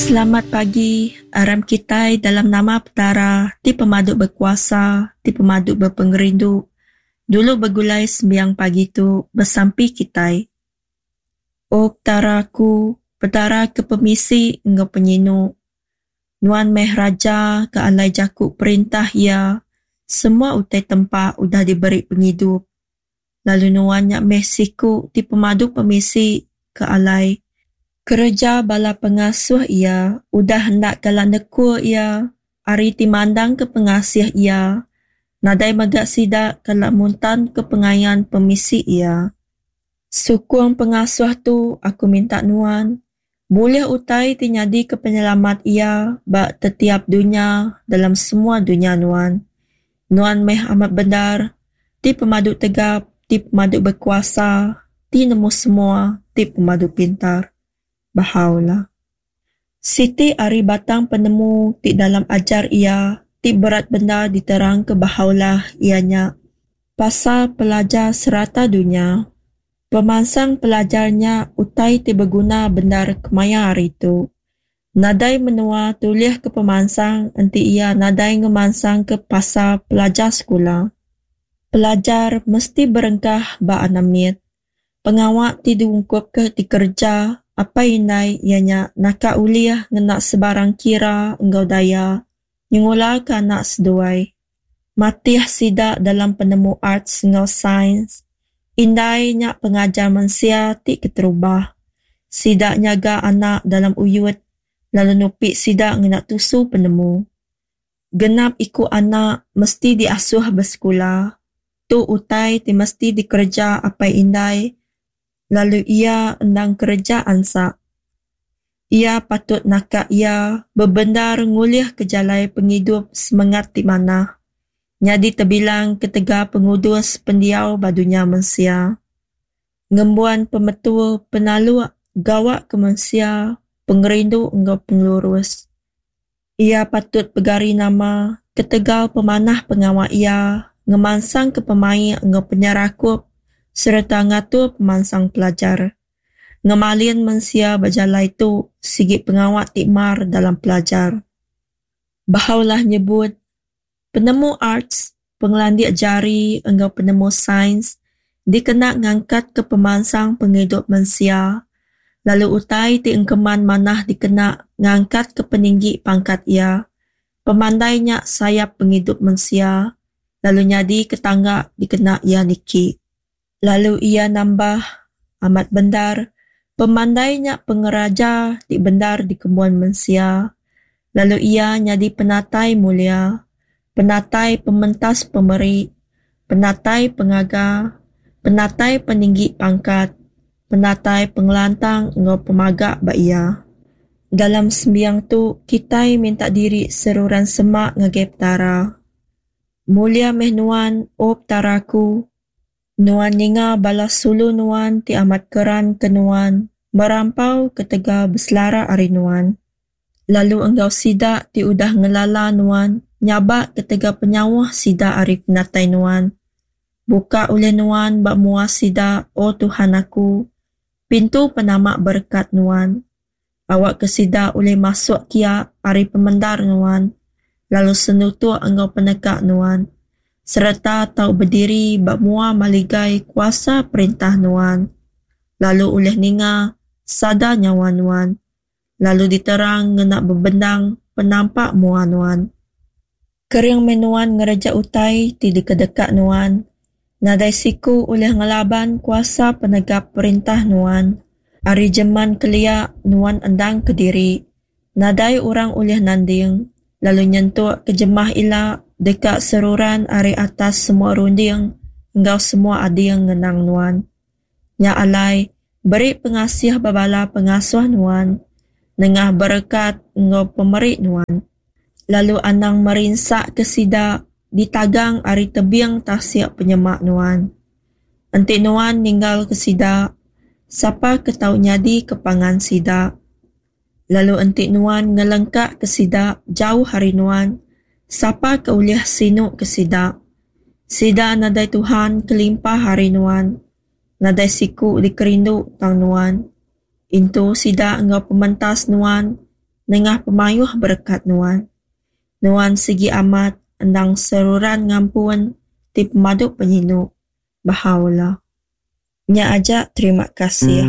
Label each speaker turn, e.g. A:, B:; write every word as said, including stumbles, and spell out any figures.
A: Selamat pagi, aram kitai dalam nama Petara ti pemadu bekuasa, ti pemadu bepengerindu, dulu begulai sembiang pagi tu besampi kitai. O Petara aku, Petara ke pemisi enggau penyinu, Nuan meh Raja ke alai jaku perintah Iya, semua utai tempa udah diberi pengidup, lalu Nuan nya meh siku ti pemadu pemisi ke alai kereja bala pengasuh Iya udah enda kala nekul Iya ari ti mandangka pengasih Iya, nadai mega sida kala muntanka pengayan pemisi Iya. Sukung pengasuh tu aku minta Nuan, bulih utai ti nyadika penyelamat Iya ba tetiap dunya dalam semua dunya Nuan. Nuan meh amat bendar, ti pemadu tegap, ti pemadu bekuasa, ti nemu semua, ti pemadu pintar. Bahá'u'lláh. Siti ari batang penemu ti dalam ajar iya ti berat bendar diterangka Bahá'u'lláh iya nya pasal pelajar serata dunya. Pemansang pelajar nya utai ti beguna bendar kemaya hari tu. Nadai menua tulihka pemansang enti iya nadai ngemansangka pasal pelajar sekula. Pelajar mesti berengkah ba anak mit. Pengawa ti diungkupka dikereja apai indai iya nya naka ulih ngena sebarang kira enggau daya nyengulaka anak seduai. Matih sida dalam penemu arts enggau sains. Indai nya pengajar mensia ti keterubah. Sida nyaga anak dalam uyut lalu nupi sida ngena tusu penemu. Genap iku anak mesti diasuh besekula. Tu utai ti mesti dikereja apai indai lalu iya endang kereja ansak. Iya patut naka iya bebendar ngulihka jalai pengidup semengat ti manah. Nyadi tebilang ketegal pengudus pendiau ba dunya mensia. Ngembuan pemetul penaluk gawa ke mensia, pengerindu enggau pengelurus. Iya patut pegari nama ketegal pemanah pengawa iya ngemansangka pemaik enggau penyerakup sereta ngatur pemansang pelajar. Ngemalin mensia ba jalai tu sigi pengawa ti mar dalam pelajar. Bahá'u'lláh nyebut, penemu arts, pengelandik jari enggau penemu sains dikena ngangkatka pemansang pengidup mensia lalu utai ti engkeman manah dikena ngangkatka peninggi pangkat iya. Pemandai nya sayap pengidup mensia lalu nyadika tangga dikena iya niki. Lalu iya nambah, amat bendar, pemandai nya pengeraja ti bendar dikembuan mensia lalu iya nyadi penatai mulia, penatai pementas pemeri, penatai pengaga, penatai peninggi pangkat, penatai pengelantang enggau pemaga ba iya. Dalam sembiang tu, kitai minta diri seruran semak ngagai Petara. Mulia meh Nuan, O Petara aku, Nuan ninga bala sulu Nuan ti amat keran ke Nuan, merampau ketegal beselara ari Nuan. Lalu enggau sida ti udah ngelala Nuan, nyabak ketegal penyauh sida ari penatai Nuan. Buka ulih Nuan ba mua sida, O Tuhan aku, pintu penama berekat Nuan. Awakka sida ulih masuk kia ari pemendar Nuan, lalu senutuk enggau peneka Nuan, sereta tau bediri ba mua maligai kuasa perintah Nuan, lalu ulih ninga sada nyawa Nuan, lalu diterang ngena bebendang penampak mua Nuan. Kering meh Nuan ngereja utai ti dikedeka Nuan, nadai siku ulih ngelaban kuasa penegap perintah Nuan. Ari jeman kelia Nuan endang kediri, nadai orang ulih nanding, lalu nyentuk ke jemah ila deka seruran ari atas semua runding enggau semua ading ngenang Nuan. Nya alai, beri pengasih ba bala pengasuh Nuan, nengah berekat enggau pemeri Nuan. Lalu anang merinsaka sida ditagang ari tebing tasik penyemak Nuan. Enti Nuan ninggalka sida, sapa ke tau nyadika pangan sida? Lalu enti Nuan ngelengkaka sida jauh ari Nuan, sapa ke ulih sinuka sida? Sida nadai Tuhan kelimpah ari Nuan, nadai siku dikerindu tang Nuan. Intu sida enggau pementas Nuan, nengah pemayuh berekat Nuan. Nuan sigi amat endang seruran ngampun ti pemadu penyinu. Bahá'u'lláh. Nya aja, terima kasih.